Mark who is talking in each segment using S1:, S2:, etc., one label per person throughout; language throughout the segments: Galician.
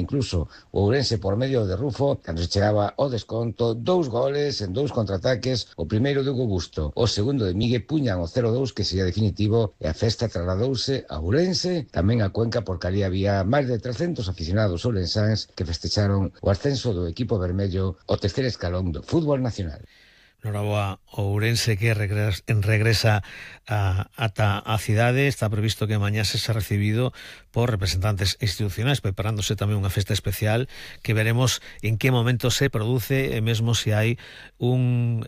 S1: incluso o Ourense por medio de Rufo, cando se chegaba ao desconto, 2 goles en 2 contraataques, o primeiro de Hugo Busto, o segundo de Miguel puñan o 0-2 que sería definitivo e a festa trasladouse a Ourense, tamén a Cuenca porque ali había máis de 300 aficionados ourensáns que festecharon o ascenso do equipo vermello ao terceiro escalón do fútbol nacional.
S2: Noraboa, Ourense que regresa ata a cidade. Está previsto que mañá se recibido por representantes institucionais, preparándose tamén unha festa especial que veremos en que momento se produce, e mesmo se hai un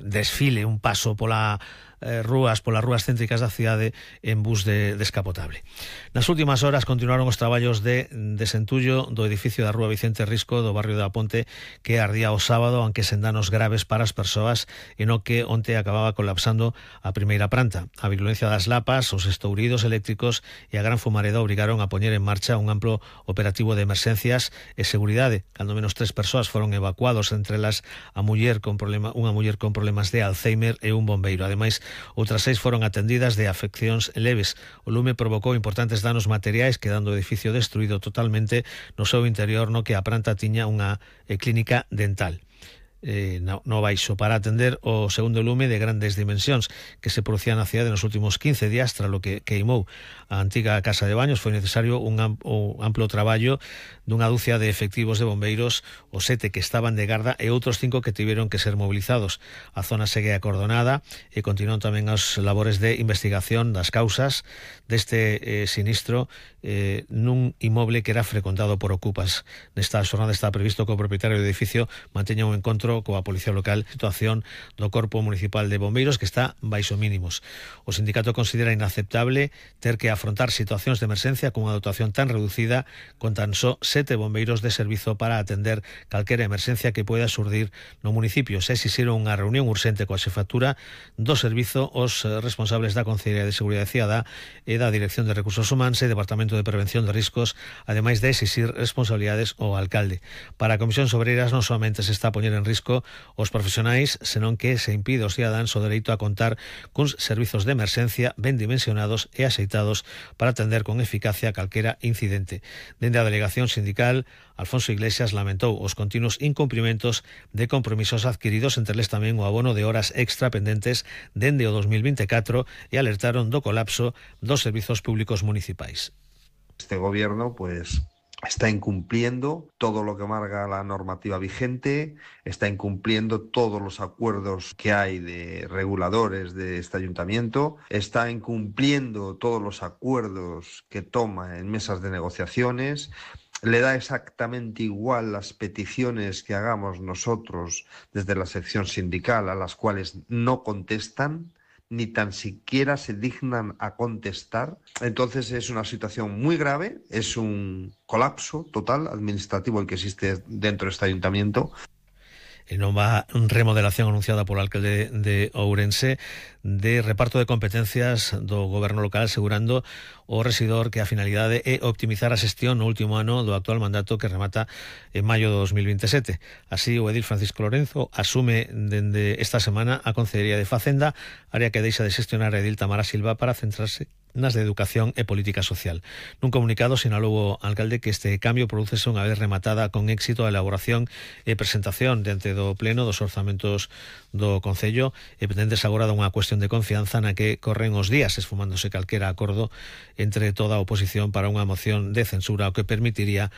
S2: desfile, un paso polas rúas céntricas da cidade en bus descapotable. Nas últimas horas continuaron os traballos de desentullo do edificio da Rúa Vicente Risco do barrio da Ponte, que ardía o sábado, aunque sen danos graves para as persoas, e no que onte acababa colapsando a primeira planta. A virulencia das lapas, os estouridos eléctricos e a gran fumareda obrigaron a poñer en marcha un amplo operativo de emerxencias e seguridade. Cando menos 3 persoas foron evacuados, entre elas unha muller con problemas de Alzheimer e un bombeiro. Ademais, outras 6 foron atendidas de afeccións leves. O lume provocou importantes danos materiais, quedando o edificio destruído totalmente no seu interior, no que a planta tiña unha clínica dental no baixo. Para atender o segundo lume de grandes dimensións que se producía na cidade nos últimos 15 días, tras lo que queimou a antiga casa de baños, foi necesario un amplo traballo dunha dúcia de efectivos de bombeiros, os 7 que estaban de garda e outros 5 que tiveron que ser movilizados. A zona segue acordonada e continúan tamén as labores de investigación das causas deste sinistro nun inmoble que era frecuentado por ocupas. Nesta xornada está previsto que o propietario do edificio manteña un encontro coa Policía Local, situación do Corpo Municipal de Bombeiros que está baixo mínimos. O sindicato considera inaceptable ter que afrontar situacións de emerxencia con unha dotación tan reducida, con tan só 7 bombeiros de servizo para atender calquera emerxencia que poida surdir no municipio. Se exixiron unha reunión urxente coa xefatura do servizo, os responsables da Consellería de Seguridade Cidadá e da Dirección de Recursos Humanos e Departamento de Prevención de Riscos, ademais de exixir responsabilidades ao alcalde. Para a Comisión Obreiras non somente se está a poñer en risco os profesionais, senón que se impide aos cidadáns o dereito a contar cuns servizos de emerxencia ben dimensionados e axeitados para atender con eficacia calquera incidente. Dende a delegación sindical, Alfonso Iglesias lamentou os continuos incumprimentos de compromisos adquiridos, entre eles tamén o abono de horas extra pendentes dende o 2024, e alertaron do colapso dos servizos públicos municipais.
S3: Este gobierno, está incumpliendo todo lo que marca la normativa vigente, está incumpliendo todos los acuerdos que hay de reguladores de este ayuntamiento, está incumpliendo todos los acuerdos que toma en mesas de negociaciones, le da exactamente igual las peticiones que hagamos nosotros desde la sección sindical, a las cuales no contestan, ni tan siquiera se dignan a contestar. Entonces es una situación muy grave, es un colapso total administrativo el que existe dentro de este ayuntamiento.
S2: En nova remodelación anunciada polo alcalde de Ourense de reparto de competencias do goberno local, asegurando o rexidor que a finalidade é optimizar a xestión no último ano do actual mandato que remata en maio de 2027. Así, o edil Francisco Lorenzo asume dende esta semana a Consellería de Facenda, área que deixa de xestionar a edil Tamara Silva para centrarse nas de Educación e Política Social. Nun comunicado sinalou o alcalde que este cambio producese unha vez rematada con éxito a elaboración e presentación diante do pleno dos orzamentos do Concello, e pendentes agora dunha cuestión de confianza na que corren os días, esfumándose calquera acordo entre toda a oposición para unha moción de censura, o que permitiría